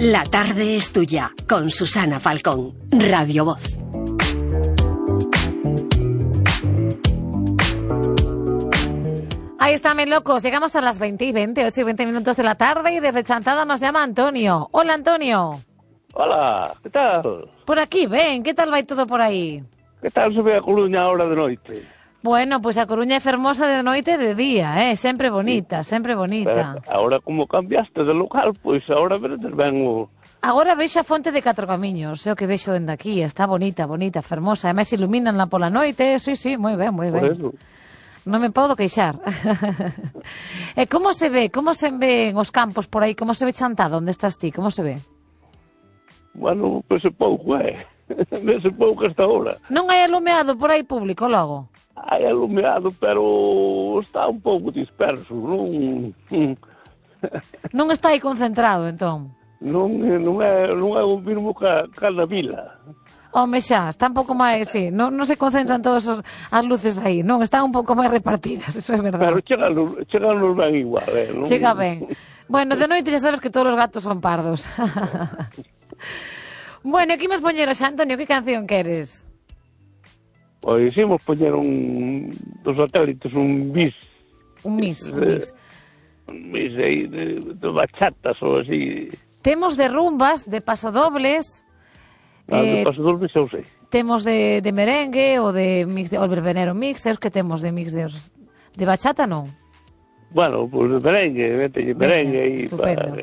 La tarde es tuya, con Susana Falcón, Radio Voz. Ahí están, mis locos. Llegamos a las 20:20, 8:20 minutos de la tarde y desde Chantada nos llama Antonio. Hola, Antonio. Hola, ¿qué tal? Por aquí, ven, ¿qué tal va todo por aí? ¿Qué tal se ve a Coruña ahora de noite? Bueno, pois a Coruña é fermosa de noite e de día, sempre bonita, sempre bonita. Pero ahora como cambiaste de local, pois ahora veredes ben o... Agora vexo a fonte de Catro Camiños, é o que vexo dende aquí, está bonita, bonita, fermosa, e máis iluminanla pola noite, sí, moi ben, moi ben. Por eso. Non me podo queixar. E como se ven os campos por aí, como se ve Chantada, onde estás ti, como se ve? Bueno, pois é pouco, vese pouco hasta ahora. Non hai alumeado por aí público logo? Hai alumeado, pero está un pouco disperso, non... Non está aí concentrado, entón? Non é o mesmo que na vila. Home, xa, está un pouco máis, sí, non se concentran todas as luces aí, non, están un pouco máis repartidas, eso é verdade. Pero cheganos ben igual, non? Chega ben. Bueno, de noite xa sabes que todos os gatos son pardos. Bueno, que imos poñer hoxe, Antonio, que canción queres? Pois imos poñer dos satélites, un bis. Un mis. Un bis aí de bachatas ou así. Temos de rumbas, de pasodobles... De pasodobles eu sei. Temos de merengue ou de mix de verbenero mix, é os que temos de mix de bachata, non? Bueno, pois de merengue e... Estupendo.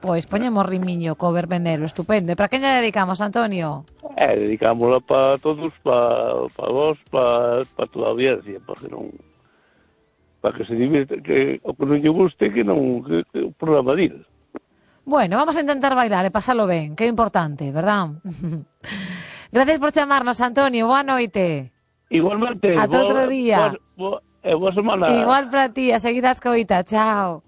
Pois poñemos rimiño co verbenero, estupendo. E para quen lle dedicamos, Antonio? Dedicámola para todos, para vos, para toda a audiencia, para que se divirta, que o que non lle guste, que o programa dir. Bueno, vamos a intentar bailar e pasalo ben, que é importante, verdad? Gracias por chamarnos, Antonio, boa noite. Igualmente. Ata outro día. Boa semana. Igual para ti, a seguir a escoita, chao.